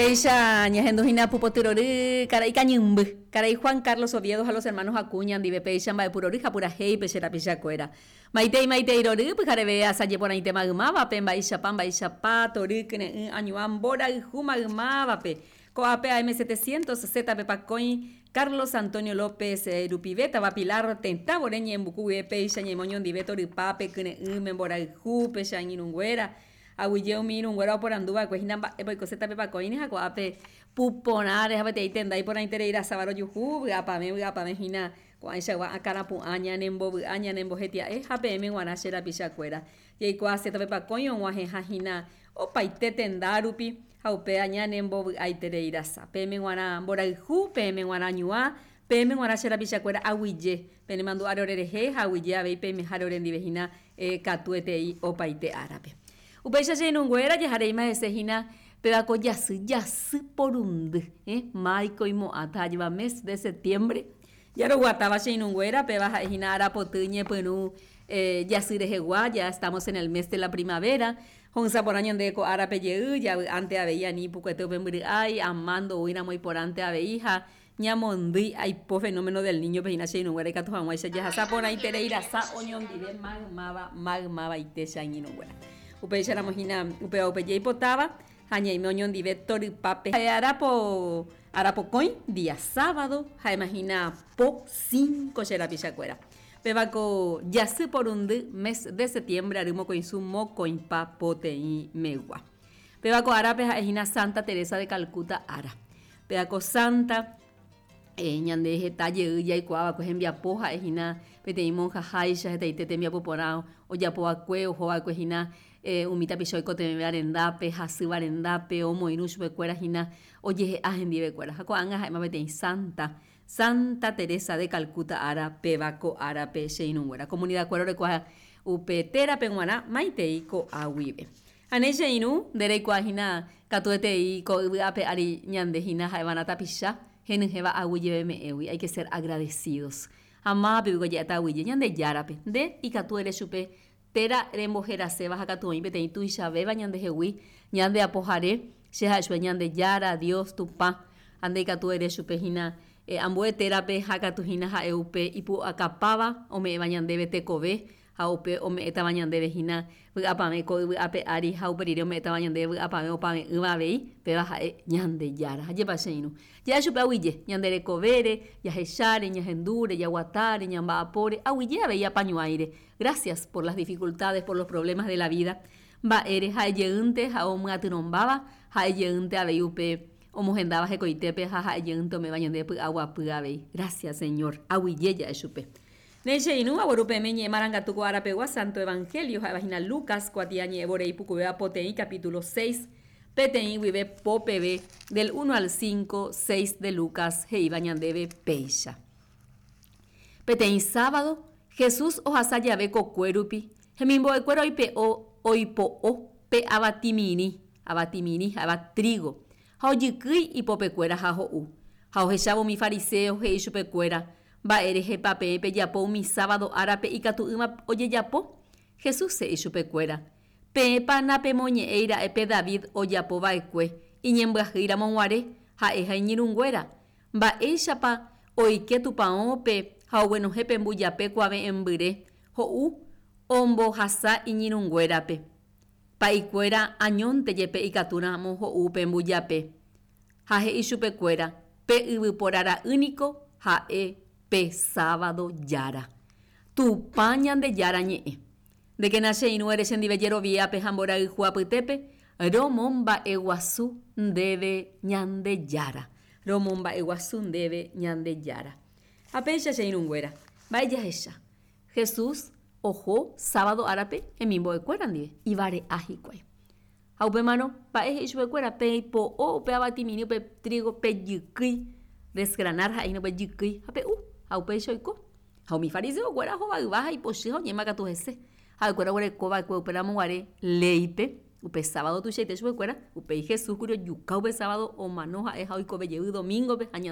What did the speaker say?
Péicha ñahendu hína pupotyrory karai kañymby, karai Juan Carlos Oviedo ha los hermanos Acuña ndive péicha mba'epurory ha purahéipe che rapichakuéra. Maitei maitei rory pyhareve asaje porãite maymávape mba'eichapa mba'eichapa tory kyre'ỹ añuã mborayhu maymávape. Ko'ápe AM 700 Z-pe pakõi Carlos Antonio López rupive táva Pilar tetã vore ñe'ẽmbuku guive péicha ñaime oñondive torypápe kyre'ỹme mborayhúpe che angirũnguéra Aguyje umi irũnguéra oporandu va'ekue hína mba'épa oiko Zeta-pe pakõine ha ko'ápe pu porãre ha peteĩ tenda iporãiterei rasáva rojuhu, vy'apavẽ vy'apavẽ hína ko'ãichagua akãrapu'ã ñanembovy'a ñanembohetia'e ha peẽme g̃uarã che rapichakuéra. Jaikuaa Zeta-pe pakõi og̃uahẽha hína opaite tenda rupi ha upéva ñanembovy'aiterei rasa. Peẽme g̃uarã mborayhu, peẽme g̃uarã ñuã, peẽme g̃uarã che rapichakuéra aguyje penemandu'áre orerehe ha aguyje avei peimeháre orendive hína katuetei opaite árape. Upéicha che irũnguéra jahareíma hese hína péva ko jasy jasy porundy, máiko imo'ãta ajéva mes de septiembre. Jaroguatáva che irũnguéra péva ha'e hína arapoty ñepyrũ jasy rehegua, ya estamos en el mes de la primavera, ho'ysã porã ñande ko árape jey, javy'ánte avei ani ipukuete upe mbyry'ái, ama ndoúiramo iporãnte avei ha Ñamondýi aipo fenómeno del niño-pe hína che irũnguéra ikatu hag̃uáicha jahasa porãiterei rasa oñondive maymáva maymavaite che angirũnguéra. Upéicharamo hína upéva upe jaipotáva ha ñaime oñondive torypápe. Ha'e arapo arapokõi, día sábado, ha'éma hína po cinco che rapichakuéra. Péva ko jasy porundy mes de septiembre ary mokõisu mokõipa poteĩ megua. Péva ko árape ha'e hína Santa Teresa de Calcuta ára. Péva ko sánta ñande heta jey jaikuaa va'ekue hembiapo ha'e hína peteĩ monjaháicha hetaite tembiapo porã ojapo va'ekue, oho va'ekue hína umi tapicha oikotevẽva rendápe, hasýva rendápe, omoirũ chupekuéra hína ojehe'a hendivekuéra. Ha ko'ág̃a ha'éma peteĩ sánta, Santa Teresa de Calcuta ára péva ko árape che irũnguéra. Comunidad-kuéra orekua upe térape g̃uarã maitei ko'a guive. Ha ne che irũ, nde reikuaa hína katuetei ko yvy ape ári ñande hína ha'evarã tapicha henyhẽva aguyjeve me'ẽgui, hay que ser agradecidos. Ha mávape piko ja'éta aguyje? Ñandejárape. Nde ikatu ere chupe téra remboheraséva ha katu oĩ peteĩ tuichavéva ñandehegui, ñande Apohare, che ha'e chupe Ñandejára, Dios, Tupã. Ha nde ikatu ere chupe hína ambue térape ha katu hína ha'e upe ipu'akapáva ome'ẽva ñandéve tekove Ha upe ome'ẽtava ñandéve hína vy'apavẽ ko yvy ape ári ha upe rire ome'ẽtava ñandéve vy'apavẽ opave'ỹva avei, péva ha'e Ñandejára. Ajépa che irũ. Ja'a chupe aguyje, ñande rekovére, jahecháre, ñahendúre, jaguatáre, ñamba'apóre, aguyje avei apañuãire. Gracias por las dificultades, por los problemas de la vida. Mba'ére ha'e jeýnte ha omyatyrõmbáva, ha'e jeýnte avei upe omohendáva hekoitépe ha ha'e jeýnte ome'ẽva ñandéve py'aguapy avei. Gracias, Señor. Aguyje ja'e chupe. Ne che irũ, agueru peẽme ñe'ẽ marangatu ko ára pegua Santo Evangelio ha'éva hína Lucas kuatia ñe'ẽ vore ipukuvéva poteĩ capítulo seis, peteĩ guive po peve, del uno al cinco, seis de Lucas he'íva ñandéve péicha. Peteĩ sábado, Jesús ohasa jave kokue rupi, hemimbo'ekuéra oipe'o oipo'o pe avatimirĩ, avatimirĩ ha'éva trigo, ha ojykýi ipopekuéra ha ho'u. Ha ohechávo umi fariseo he'i chupekuéra, Mba'e rehepa peẽ pejapo umi sábado árape ikatu'ỹva ojejapo? Jesús he'i chupekuéra, Peẽpa napemoñe'ẽi ra'e pe David ojapo va'ekue iñembyahýi ramo guare, ha'e ha iñirũnguéra? Mba'éichapa oike tupãópe ha oguenohẽ pe mbujape kuave'ẽmbyre ho'u ombohasa iñirũnguérape? Pa'ikuéra añónte jepe ikatu ramo ho'u pe mbujape. Ha he'i chupekuéra, Pe yvypóra ra'y niko ha'e pe sábado Jára. Tupã Ñandejára ñe'ẽ. Ndékena che irũ ere chendive jeroviápe ha mborayhu apytépe, romomba'eguasu ndéve Ñandejára. Romomba'eguasu ndéve Ñandejára. Ha péicha che irũnguéra, mba'e jahecha? Jesús oho sábado árape hemimbo'ekuéra ndive, ivare'a hikuái. Ha upémarõ, mba'e he'i chupekuéra, Peipo'o upe avatimirĩ upe trígo pejykýi, desgranar ha'e hína upe jykýi, ha pe'u. Ha upéicha oiko. Ha umi fariseokuéra hovayva ha ipochy ha oñe'ẽma katu hese. Ha'ekuéra oguereko va'ekue upéramo guare léipe, upe sábado tuichaite chupekuéra, upéi Jesús kuri ojuka upe sábado omano ha'e ha oikove jey domingo-pe ha ñande.